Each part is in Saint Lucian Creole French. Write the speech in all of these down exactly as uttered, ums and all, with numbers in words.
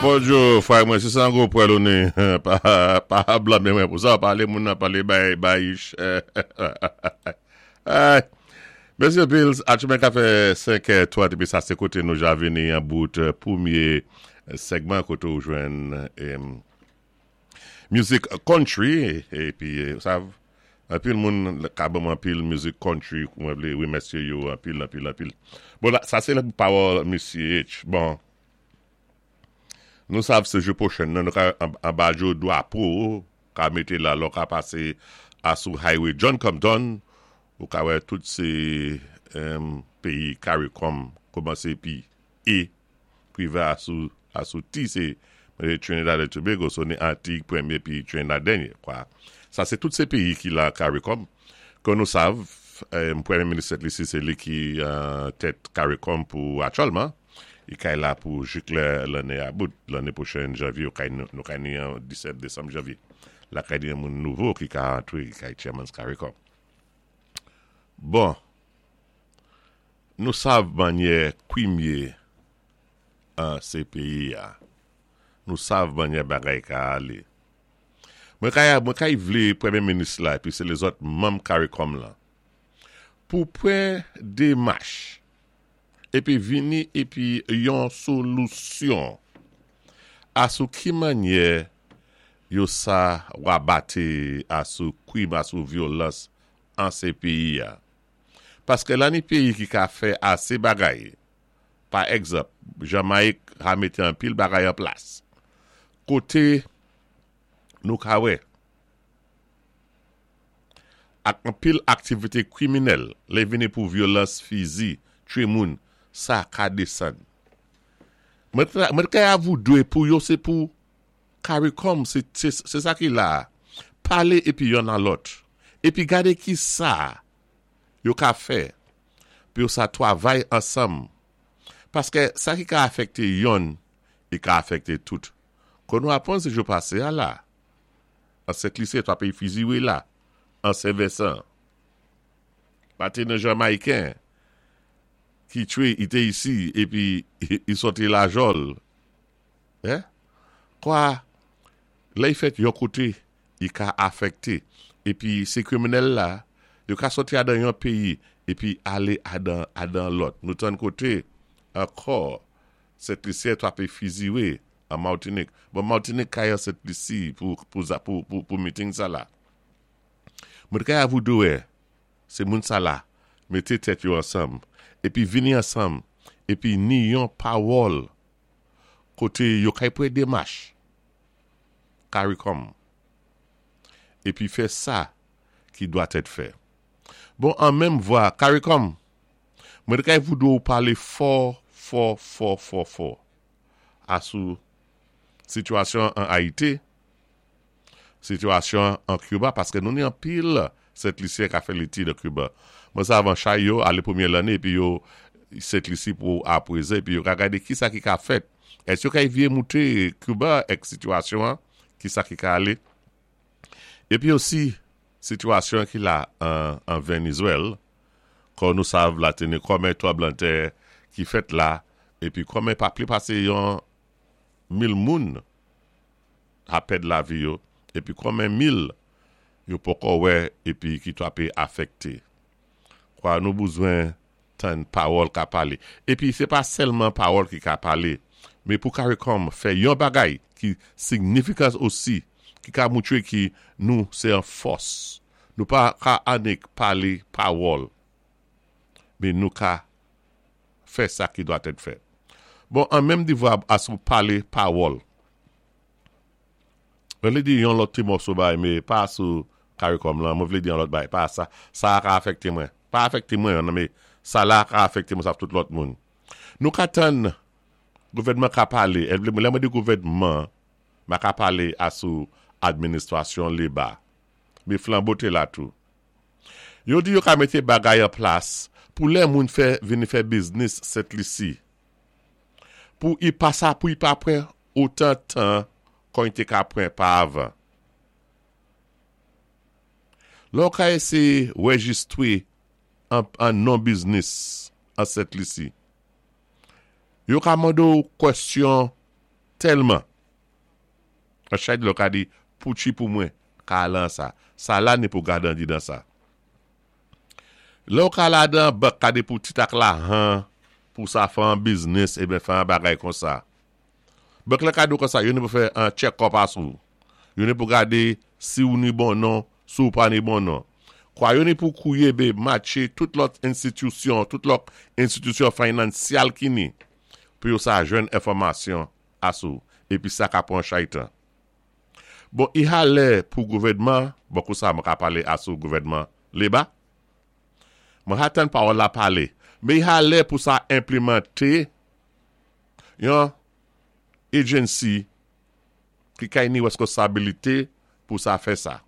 Bonjou, fway mwen, si san gwo pwèl ou ni, pa, pa blame mwen pou sa, pale moun nan pale bay, bay ich. Ay, Mèsi anpil, atchoumen ka fè senk twa, épi sa sé koté nou ja vini an bout pwémyé segman koté ou jwenn mizik country, épi sa anpil moun ka ban mwen anpil mizik country, mwen vlé wimèsyé yo anpil, anpil, anpil. Bon, la, sa sé la pawòl Misye H. Bon, nou sav sé jou pwochen nan, nou ka anba jo dwapo, ka mété la, lò ka pasé asou highway John Compton, ou ka wè tout sé péyi CARICOM kòmansé pi E, rivé asou, asou T, sé Trinidad et Tobago, so ni Antig pwémyé pi Trinidad dènyé, kwa. Sa sé tout sé péyi ki la CARICOM, kon nou sav, pwémyé minis Sent Lisi, sé li ki tèt CARICOM pou aktyèlman, i kay la pou jik lè lanné a bout, lanné pwochèn janvyé, nou kay ni an disèt desanm janvyé. La kay ni moun nouvo ki ka antré, ki kay chairman CARICOM. Bon, nou sav manyè kwim yé an sé péyi a. Nou sav manyè bagay ka alé. Mwen kay, mwen kay vlé pwémyé minis la, épi sé lézòt manm CARICOM lan, pou pran démach, épi vini épi yon solisyon asou ki manyè yo sa wabaté asou kwim, asou vyolans an sé péyi a. Paské la ni péyi ki ka fè asé bagay. Pa egzanp, Jamayik a mété anpil bagay an plas. Koté nou ka wè, ak anpil aktivité kriminèl, lè vini pou vyolans fizi, twé moun, sa ka désann. Mwen kay avoudwe pou yo sé pou CARICOM, sé sa ki la, palé épi yon nan lòt. Épi gadé ki sa yo ka fè, pou yo sa twavay ansanm. Paské sa ki ka afèkté yon, i ka afèkté tout. Kon nou apwann sé jou pasé a la, an Sent Lisi twa péyi fiziwé la, an Sen Vensan. Paté nan Jamayiken, ki twé ité isi, épi i sòti Lajòl. Eh? Kwa, lè i fèt yon koté, i ka afèkté. Épi sé kriminèl la, yo ka sòti adan yon péyi, épi alé adan, adan lòt. Nou tann koté, ankò, Sent Lisyen twa pé fiziwé an Matinik. Bon, Matinik kay an Sent Lisi pou, pou, pou, pou, pou meeting sa la. Mwen kay avoudoué, sé moun sa la, mété tèt yo ansanm, épi vini ansanm, épi ni yon pawòl koté yo kay pran démach, CARICOM, épi fè sa ki dwa tèt fè. Bon, an menm vwa, CARICOM, mwen kay voudou palé fò, fò, fò, fò, fò, asou sitiyasyon an Ayiti, sitiyasyon an Kiba, paské nou ni anpil Sent Lisyen ka fè létid an Kiba. Mwen sa avan chay yo, alé pwémyé lanné, épi yo Sent Lisi pou apwézé, épi yo ka gadé ki sa ki ka fèt. Ès yo ka vyé mouté Kiba èk sitiyasyon an, ki sa ki ka alé. Épi osi, sitiyasyon ki la an, an Vénézwèl, kon nou sav la téni konmen tranblanntè ki fèt la, épi konmen pa pli pasé yon mil moun a pèd lavi yo, épi konmen mil yo poko wè épi ki twa pé afèkté. Kwa nou bezwen tann pawòl ka palé. Épi sé pa sèlman pawòl ki ka palé, mé pou CARICOM fè yon bagay ki signifikans osi, ki ka moutwé ki nou sé an fòs. Nou pa ka anik palé pawòl, mé nou ka fè sa ki dwa tèt fè. Bon, an menm di vwa asou palé pawòl. Mwen vlé di yon lòt ti mòso bay, mé pa sou CARICOM lan, mwen vlé di yon lòt bay, pa sa, sa ka afèkté mwen. Pa afèkté mwen, nan mé sa la ka afèkté mwen sa tout lòt moun. Nou ka tann gouvèdman ka palé, lè mwen di gouvèdman, ma ka palé asou administrasyon léba. Mé Flambeau té la tou. Yo di yo ka mété bagay an plas pou lè moun fè vini fè biznis Sent Lisi. Pou i pa sa, pou i pa pran otan tan kon i té ka pran pa avan. Lò ka éséyé wéjistwé an, an non biznis an Sent Lisi. Yo ka mando kwèsyon Tèlman. An chay dlo ka di, pouchi pou mwen, ka lan sa. Sa la ni pou gade an di dan sa. Lè ou ka la dan, bank ka di pou titak la han, pou sa fè an biznis, e ben fè an bagay kon sa. Bank la ka di kon sa, yo ni pou fè an check-up asou. Yo ni pou gade si ou ni bon non, si ou pa ni bon non. Kwa yo ni pou kouye be matche tout lòt enstitisyon, tout lòt enstitisyon finansyal ki ni, pou yo sa jwenn enfòmasyon asou, epi sa ka pran chay tan. Bon, i ha lè pou gouvèdman, bon kou sa mwen ka pale asou gouvèdman leba, mwen ha tan pawòl la pale, men i ha lè pou sa enplimante yon agency ki kay ni reskonsabilite pou sa fè sa.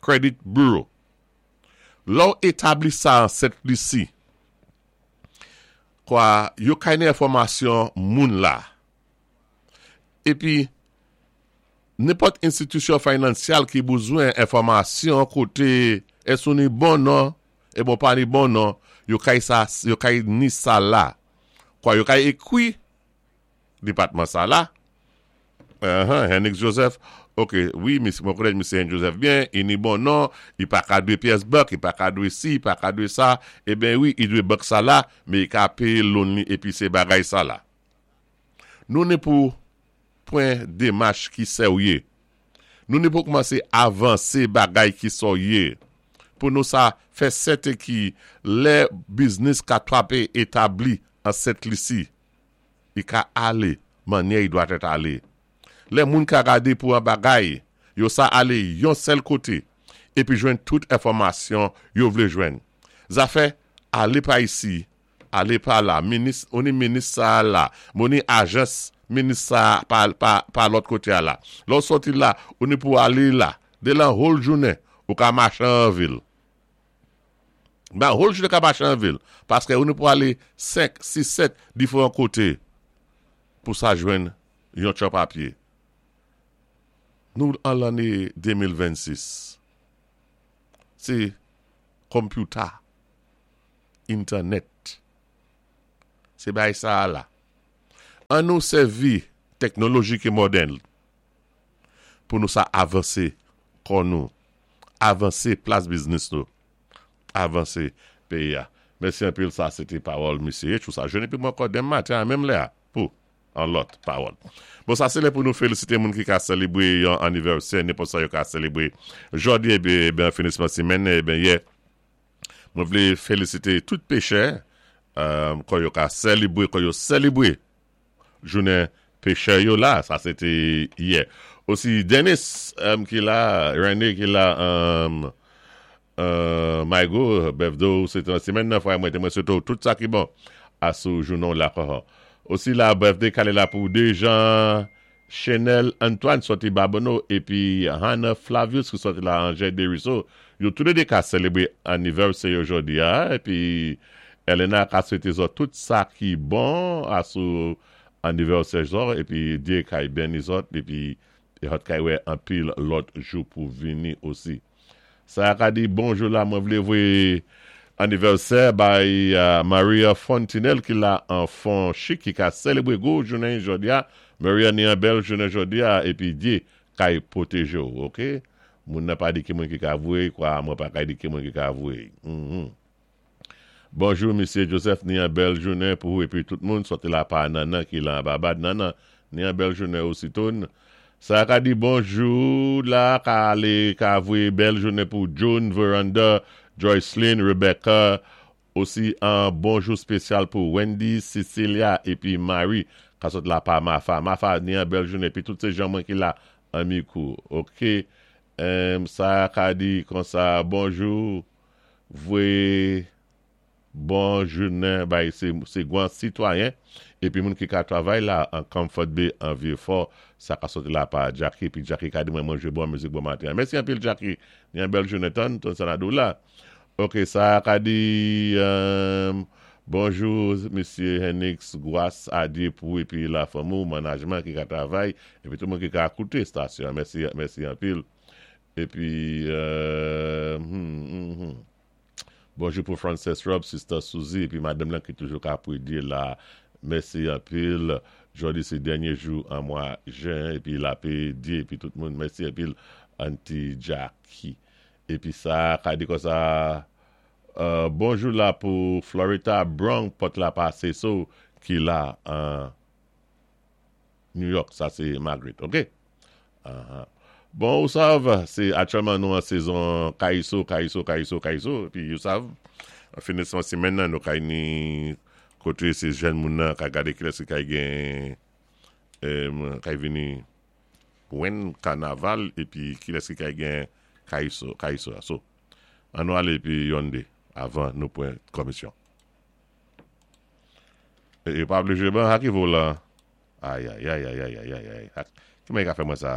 Credit Bureau. Lò etabli sa an Sent Lisi, kwa yo kay ni enfòmasyon moun la. Epi, nenpòt enstitisyon finansyal ki bezwen enfòmasyon kote ès ou ni bon non, e bon pa ni bon non, yo kay sa, yo kay ni sa la. Kwa yo kay ekwi depatman sa la. Uh-huh, Henrik Joseph, ok, wi, mwen konnen Misye Henrik Joseph byen, i ni bon non, i pa ka dwe pyès bank, i pa ka dwe si, i pa ka dwe sa, e ben wi, i dwe bank sa la, men i ka peye loan li epi se bagay sa la. Nou ni pou pran demach ki serye. Nou ni pou kòmanse avanse bagay ki serye. Pou nou sa fè sèten ki lè biznis ka trape etabli an Sent Lisi, i ka ale, manyè i dwa tèt ale. Lè moun ka gade pou an bagay, yo sa ale yon sèl kote, epi jwenn tout enfòmasyon yo vle jwenn. Zafè, ale pa isi, ale pa la, minis, ou ni minis sa la, moun ni ajans minis sa pa, pa, pa lòt kote a la. Lò soti la, ou ni pou ale la, de lan whole jounen, ou ka mache an vil. Ba, whole jounen ka mache an vil, paske ou ni pou ale senk, sis, sèt diferan kote, pou sa jwenn yon chòp papye. Nou an lanne de mil vennsis. Se computer, internet. Se bay sa la. An nou sèvi teknoloji ki modèn pou nou sa avanse kon nou. Avanse plas biznis nou. Avanse peyi ya. Mèsi anpil, sa se te pawòl misye. Chou sa jwenn epi mwen ankò demen maten a menm lè a pou an lòt pawòl. Bon, sa se lè pou nou felisite moun ki ka selebre yon anivèsè, nenpòt sa yo ka selebre. Jodi e ben finisman simen, e ben yè, mwen vle felisite tout pechè, kon yo ka selebre, kon yo selebre jounen pechè yo la, sa se te yè. Osi Dennis ki la, René ki la, Maigo, birthday, se te simen nan fwa mwen te mwen swete tout sa ki bon asou jounen la kohan. Osi la birthday kale la pou Dejan Chenel Antoine soti Babonneau epi Hannah Flavius ki soti la Angers Desruisseaux. Yo tou de ka selebre anivèsè yo jodi a, epi Elena ka swete zòt tout sa ki bon asou anivèsè zòt, epi Dye kay beni zòt, epi hot kay wè anpil lòt jou pou vini osi. Sa ka di bonjou la, mwen vle vwe anivèsè bay Maria Fontinel ki la an fon chik ki ka selebre gwo jounen jodi a. Maria, ni an bèl jounen jodi a, epi Dye kay pwoteje ou, ok? Moun nan pa di ki moun ki ka vwe, kwa mwen pa kay di ki moun ki ka vwe. Bonjou, Misye Joseph, ni an bèl jounen pou ou epi tout moun, sote la pa nanan ki la babad nanan, ni an bèl jounen osi ton. Sa ka di bonjou la, ka ale ka vwe bèl jounen pou June, Veranda, Joycelyn, Rebecca, osi an bonjou spesyal pou Wendy, Cecilia, epi Marie, ka sot la pa Mafa. Mafa, ni an bèl jounen, epi tout se jan mwen ki la an mikou, ok? Sa ka di kon sa, bonjou, vwe bon jounen, bay se gwan sitwayen, epi moun ki ka travay la an Comfort Bay, an Vieux-Fort, sa ka sote la pa Jackie, epi Jackie ka di mwen manje bon mizik bon maten. Mèsi anpil, Jackie, ni an bèl jounen ton, ton sanadou la. Ok, sa ka di, bonjou, Misye Henix, gwas a Dye pou epi la fanmi, manajman ki ka travay, epi tout moun ki ka akoute stasyon. Mèsi, mèsi anpil. Epi, hmm, hmm, hmm. Bonjou pou Frances Rob, Sister Suzy, epi madame lan ki toujou ka pou di la. Mèsi anpil. Jòdi sé dènyé jou an mwa jen épi lapè Dye épi tout moun. Mèsi anpil Auntie Jackie. Épi sa, ka di konsa, euh, bonjou la pou Florida Bronx pot la pasé so ki la an New York, sa sé Margaret, ok? Uh-huh. Bon, ou sav, sé aktyèlman nou an sezon kayiso, kayiso, kayiso, kayiso, épi ou sav, an finisman simenn nan nou kay ni koté sé jèn moun nan ka gadé kilès ki kay gen em, kay vini wen kanaval épi kilès ki kay gen kayiso, kayiso. So, an nou alé épi yonde avan nou pwan komisyon. É, é pa vlé jwé ban, sa ki vo la? Ay, ay, ay, ay, ay, ay, ay, ay. Ki mwen ka fè mwen sa?